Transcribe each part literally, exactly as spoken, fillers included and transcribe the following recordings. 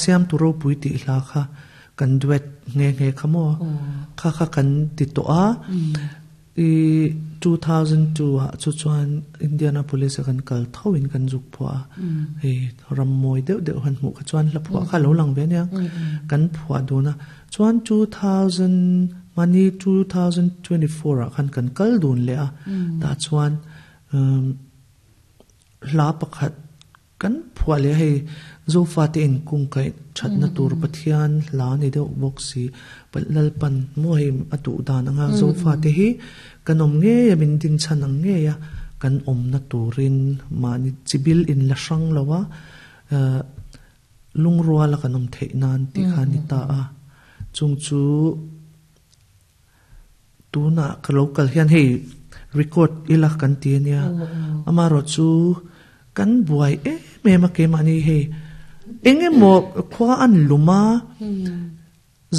Siam tu ropui tih hla kha kan duet nghe nghe kha maw kha kha kan ti tawh a i two thousand two ah chu chuan Indianapolis a kan kal tho in kan zuk phuah a hei ram mawi deuh deuh han hmuh kha chuan hla phuah kha a lo lang ve ania kan phuah dun a chuan two thousand mani two thousand twenty four ah khan kan kal dun leh a tah chuan umm hla pakhat kan phuah leh hei Zofa te in kung kaih thatna tur Pathian hla ni deuh bawk si Lalpan maw hei a duh dan anga Zofa te hi kan awm ngei a min din chhan ang ngei a kan awmna turin mahni chibil in la hrang lo a lungruala kan awm theih nan tih kha a ni ta a chung chu tunah ka lo kal hian hei record ila kan ti ania amaherawh chu kan buai em em a keimahni hei eng emaw khua an lum a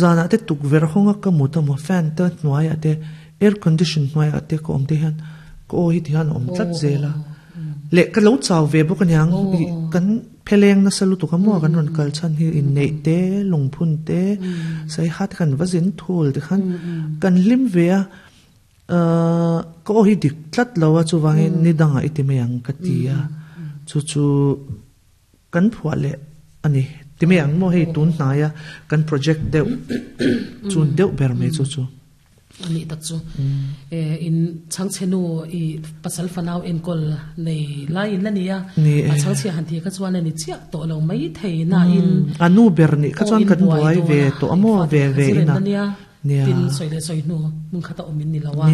zanah te tukverh hawnga ka mut emaw fan te hnuaiah te air condition hnuaiah te ka awm te hian ka aw hi ti hian a awm tlat zel a leh ka lo chau ve bawk aniang kan pheleng nasa lutuk a maw kan rawn kal chhan hi inneih te lungphun te saiha te khan va zin thul te khan kan hlim ve a ahh ka aw hi dik tlat lo a chuvangin ni dangah i ti mai ang ka ti a chu chu kan phuah leh a ni ti mai ang maw hei tun hnaia kan project deuh chun deuh ber mai chu chu. A nih tak chu in chhangchhe nu i pasal fanau enkawl nei lai in la ni a, a chhangchhia han thi kha chuan a ni chiah tawh lo mai thei na in a nu ber nih kha chuan kan buai ve tawh a maw ve ve in a tin sawi leh sawi hnu hmun khat a awm in ni lo a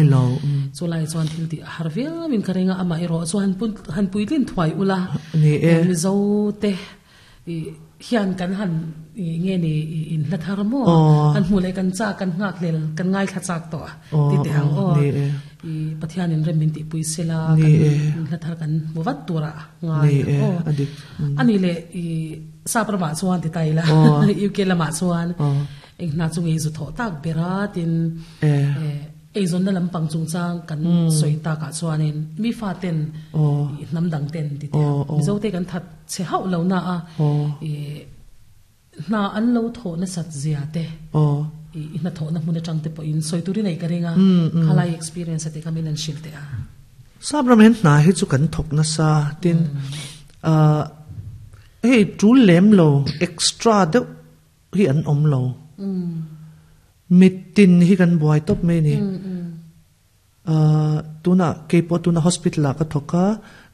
chu lai chuan thil tih a har viau in ka ring a amaherawh chu han han puitlin thuai ula Mizo te i hian kan han i nge ni i in hla thar maw an hmuh leh kan chak kan nghak hlel kan ngaithla chak tawh a ti teh ang aw i Pathian in rem min tihpui sela kan in hla thar kan hmu vat tur a ngai aw ani leh i sap ramah chuan ti ta ila U K lamah chuan eng hna chu ngei zu thawh tak ber a tin eizawnna lampang chungchang kan sawi takah chuanin mi fa ten i hnam dang ten ti teh a Mizo te kan that chhe hauh lo na a i hna an lo thawh nasat zia te i hna thawhna hmun atang te pawhin sawi turin ei ka ring a khalai experience ate kha min an hrilh teh a. Sap ram hian hna hi chu kan thawk nasa tin ah hei tul lem lo extra deuh hi an awm lo. Mitin hi kan buai tawp mai a ni. Tunah keipawh tuna hospital ah ka thawk a,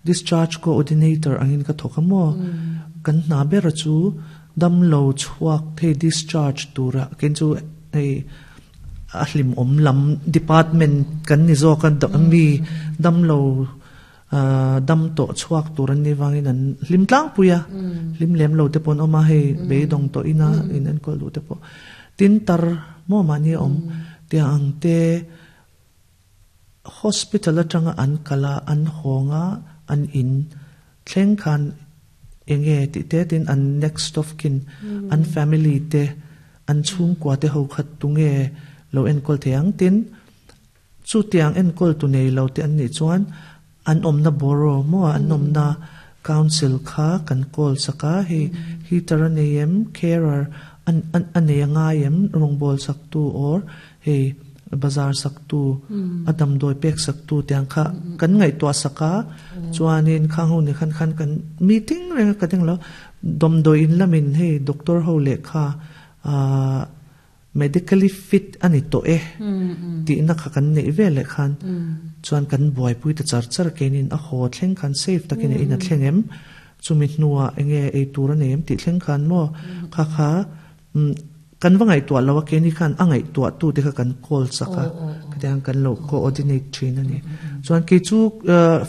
discharge coordinator angin ka thawk a maw? Kan hna ber chu damlo chhuak hei discharge tura kei chu hei a hlimawm lam department kan ni zawk a, mi damlo dam tawh chhuak tur an nih vangin an hlim tlangpui a, hlim lem lo te pawh an awm a, hei beidawng tawh ina in enkawl duh te pawh tin tar maw mahni a awm tiang ang te hospital atanga an kal a an hawng a an in thleng khan eng nge tih te tin an next of kin an family te an chhungkua te ho khat tunge lo enkawl thei ang tin Chutiang enkawltu nei lo te an nih chuan an awmna borough maw an awmna council kha kan call sak a, hei heater a nei em, carer an a nei a ngai em, rawngbâwl saktu or hei bazar saktu a damdawi pek saktu tiang kha kan ngaihtuah sak a, chuanin khang ho ni khan khan kan meeting reng a ka ding lo, damdawi in lamin hei doctor ho lehkha ah Medically fit a ni tawh e tihna kha kan neih vel leh khan chuan kan buaipui ta char char keinin a haw thleng khan safe takin a in a thleng em chumi hnuah enge ei tur a nei em tih thleng khan maw kha kha kan va ngaihtuah lo a keini khan a ngaihtuah tu te kha kan call chak a khatiang kan lo coordinate thin a ni chuan kei chu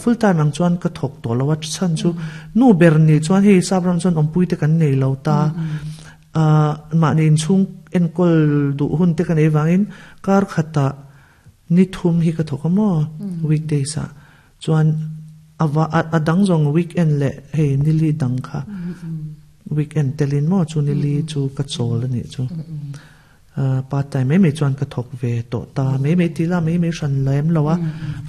full time ang chuan ka thawk tawh lo a chhan chu nu ber nih chuan hei sap ram chuan awmpui te kan nei lo ta. Ahh mahni inchhung enkawl duh hun te ka nei vangin kar khatah ni thum hi ka thawk a maw weekdays ah chuan a va a dang zawng weekend leh hei nili dang kha weekend telin maw chu nili chu ka chawl a nih chu ahh part time mai mai chuan ka thawk ve tawh ta mai mai tih la mai mai hran lem lo a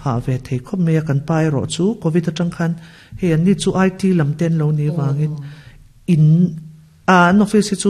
hah ve thei khawp mai a kan pa erawh chu covid atang khan hei an ni chu I T lam te an lo nih vangin in A an office hi chu